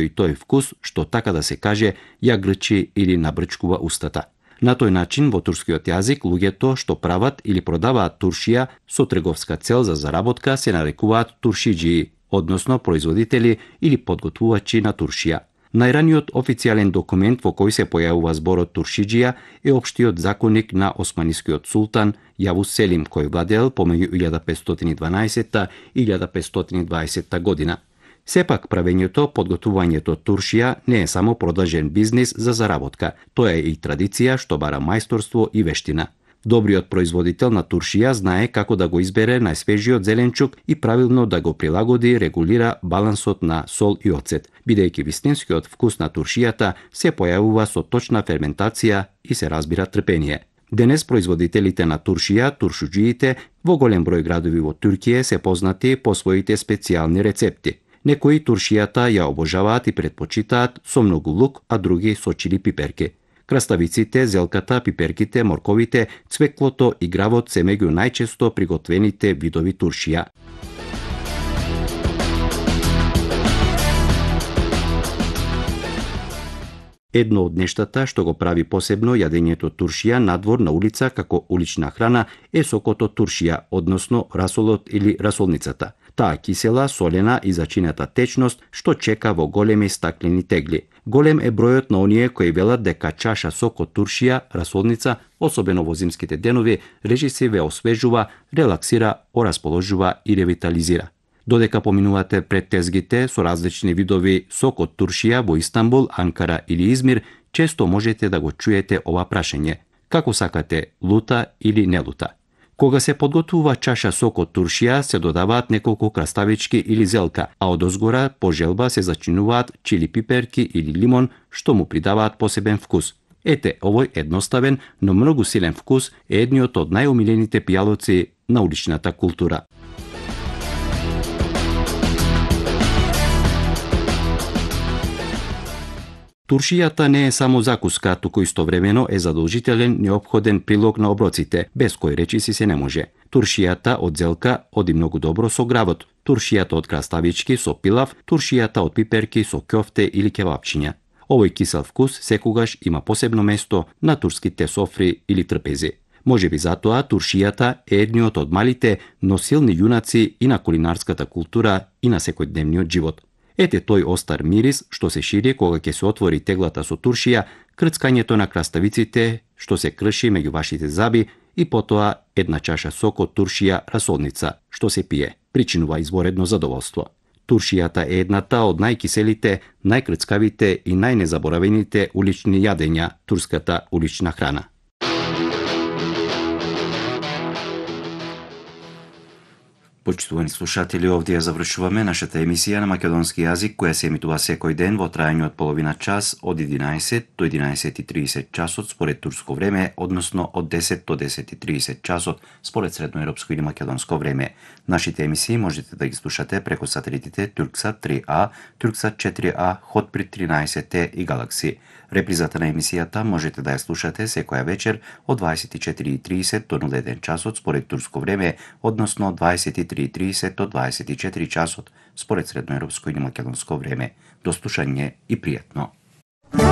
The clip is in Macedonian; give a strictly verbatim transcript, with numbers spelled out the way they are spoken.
и тој вкус што, така да се каже, ја грчи или набрчкува устата. На тој начин во турскиот јазик луѓето што прават или продаваат туршија со трговска цел за заработка се нарекуваат туршиџии, односно производители или подготвувачи на туршија. Најраниот официјален документ во кој се појавува зборот туршиџија е општиот законник на османискиот султан Јавус Селим, кој владеел помеѓу илјада петстотини и дванаесетта и илјада петстотини и дваесетта година. Сепак правењето, подготвувањето туршија не е само продажен бизнис за заработка, тоа е и традиција што бара мајсторство и вештина. Добриот производител на туршија знае како да го избере најсвежиот зеленчук и правилно да го прилагоди, регулира балансот на сол и оцет, бидејќи вистинскиот вкус на туршијата се појавува со точна ферментација и се разбира трпение. Денес производителите на туршија, туршуџиите, во голем број градови во Туркија се познати по своите специјални рецепти. Некои туршијата ја обожаваат и предпочитаат со многу лук, а други со чили пиперки. Краставиците, зелката, пиперките, морковите, цвеклото и гравот се меѓу најчесто приготвените видови туршија. Едно од нештата што го прави посебно јадењето туршија надвор на улица како улична храна е сокото туршија, односно расолот или расолницата. Таа кисела, солена и зачината течност што чека во големи стаклени тегли. Голем е бројот на оние кои велат дека чаша сок од туршија, расолница, особено во зимските денови, режиси ве освежува, релаксира, орасположува и ревитализира. Додека поминувате пред тезгите со различни видови сок од туршија во Истанбул, Анкара или Измир, често можете да го чуете ова прашање: како сакате, лута или не лута? Кога се подготвува чаша сок од туршија, се додаваат неколку краставички или зелка, а одозгора по желба се зачинуваат чили пиперки или лимон, што му придаваат посебен вкус. Ете, овој едноставен, но многу силен вкус е едниот од најомилените пијалоци на уличната култура. Туршијата не е само закуска, туку истовремено е задолжителен неопходен прилог на оброците, без кој речиси се не може. Туршијата од зелка оди многу добро со гравот, туршијата од краставички со пилав, туршијата од пиперки со ќофте или кебапчиња. Овој кисел вкус секогаш има посебно место на турските софри или трпези. Можеби затоа туршијата е едниот од малите, но силни јунаци и на кулинарската култура и на секојдневниот живот. Ете тој остар мирис што се шири кога ќе се отвори теглата со туршија, крцкањето на краставиците што се крши меѓу вашите заби и потоа една чаша сок од туршија расолница што се пие, причинува изворедно задоволство. Туршијата е едната од најкиселите, најкрцкавите и најнезаборавените улични јадења, турската улична храна. Почитувани слушатели, овде ја завршуваме нашата емисија на македонски јазик, која се емитува секој ден во трајање од половина час од единаесет до единаесет и тридесет часот според турско време, односно од десет до десет и тридесет часот според средноевропско или македонско време. Нашите емисии можете да ги слушате преку сателитите Турксат три А, Турксат четири А, Хотбрид тринаесет Т и Галакси. Репризата на емисијата можете да ја слушате секоја вечер од дваесет и четири и тридесет до нула еден часот според турско време, односно од дваесет и три и тридесет до дваесет и четири часот според средноевропско или македонско време. До слушање и пријатно.